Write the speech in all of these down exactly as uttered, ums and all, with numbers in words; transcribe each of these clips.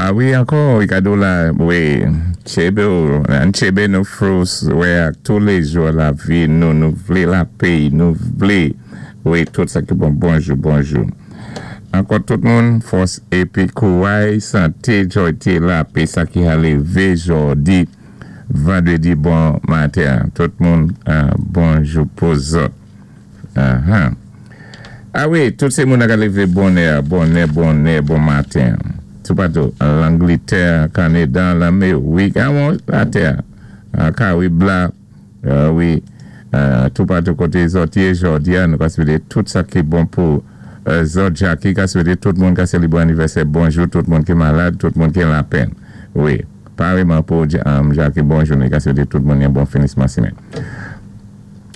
A wi, ankò, Ricardo la, wi, tjébé, an tjébé nou fòs, wi, touléjou lavi, nou, nou vlé lapé, nou vlé, wi, tout sa ki bon, bonjou, bonjou. Ankò tout moun, fòs épi kouway, santé, jòyté, lapé, sa ki ka lévé jòdi, vandwédi bon maten. Tout moun, bonjou pou zòt. Uh-huh. A wi, tout sé moun ka lévé bonnè, bonnè, bonnè, bon maten. Toupatou, Langlétè, Kanada, Laméwik, a latè, Karib la, wi, toupatou koté zòt yé jòdi a, nou ka swété tout sa ki bon pou zòt. Jackie ka swété tout moun ka sélébré anivèsè, bonjou, tout moun ki malad, tout moun ki lapèn. Wi, paréyman pou Jackie, bonjou, nou ka swété tout moun yon bon finisman simenn.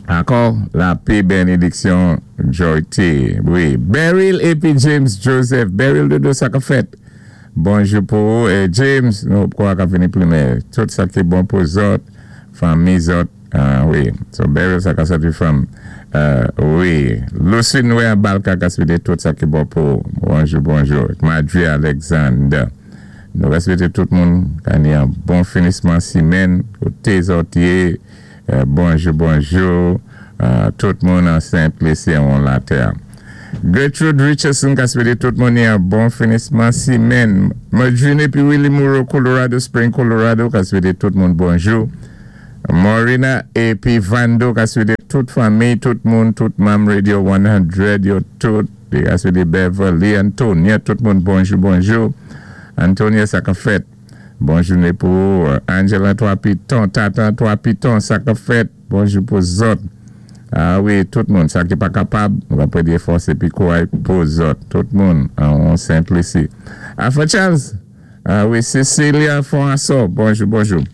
Ankò, lapé, bénédiksyon, jòyté. Wi, Beryl épi James Joseph. Beryl Dodo, sa ka fèt. Bonjou pou eh, James, nou kwa ka vini plimè. Tout sa ki bon pou zòt, fanmi zòt, uh, wi. So Beryl sa ka sòti from, uh, wi. Lucy Noé Balka ka swété tout sa ki bon pou. Bonjou, bonjou. Madri Alexander. Nou ka swété tout moun ka ni yon bon finisman simenn, koté zòt yé. Euh, bonjou, bonjou. Uh, tout moun an Saint-Lucie an latè. Gertrude Richardson ka swété tout moun yon bon finisman simenn. Marjorie épi Willie Moreau, Colorado Spring, Colorado, ka swété tout moun bonjou. Morina épi Vando ka swété tout fanmi, tout moun, tout manm Radio san, yo tout, ka swété Beverly, Antonia, tout moun bonjou, bonjou. Antonia, sa ka fèt. Bonjou pou Angela Trois Pitons, Tata Trois Pitons, sa ka fèt. Bonjou pou zòt. A wi, tout moun, sa ki pa kapab, nou va prédé fòs épi kouway pou zòt. Tout moun, an Saint-Lucie. Afa Charles, a wi, Cecilia François, bonjou, bonjou.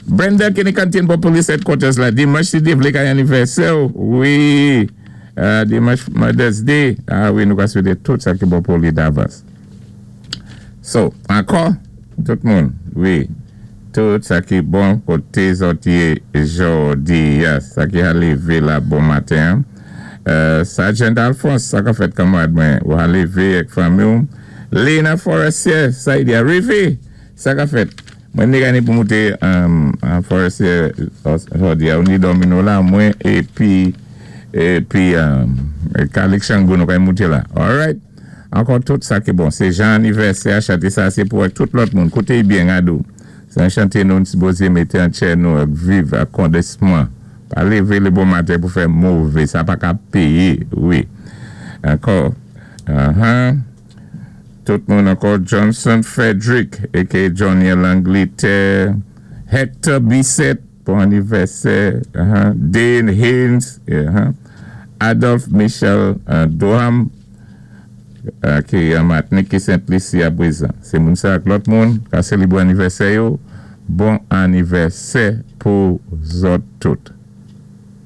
Brenda Kenny Canteen pou Police Headquarters la, dimanch si Dye vlé ka anivèsè, wi, dimanch Mother's Day, a wi, nou ka swété tout sa ki bon pou li davans. So, ankò, tout moun, wi, tout sa ki bon koté zòt yé jòdi, sa ki a lévé la bon maten. Uh, Sergeant Alphonse, sa ka fèt kanmarad mwen, ou a lévé ak fanmi ou. Lena Forestier, sa y di arivé, sa ka fèt. Mwen ni gani pou mouté um, Forestier jòdi, ou ni domino la mwen, épi, épi, um, Kalik Chango nou kay mouté la. Alright? Ankò tout sa ki bon. Sé jan anivèsè, chanté sa, sé pou tout lòt moun. Kouté byen adou. Sé yon chanté nou sipozé mété an tchè nou ak viv ak kondisman. Pa lévé lé bon maten pou fè mové. Sa pa ka péyé. Wi. Ankò. Uh-huh. Tout moun ankò. Johnson Frederick, A K A. Johnny Langlétè. Hector Bissett pou anivèsè. Uh-huh. Dane Haynes. Uh-huh. Adolphe Michel uh, Doham ki an Matnik ki Saint-Lucie apwézan. Sé moun sa ak lòt moun ka sélébré anivèsè yo, bon anivèsè pou zòt tout.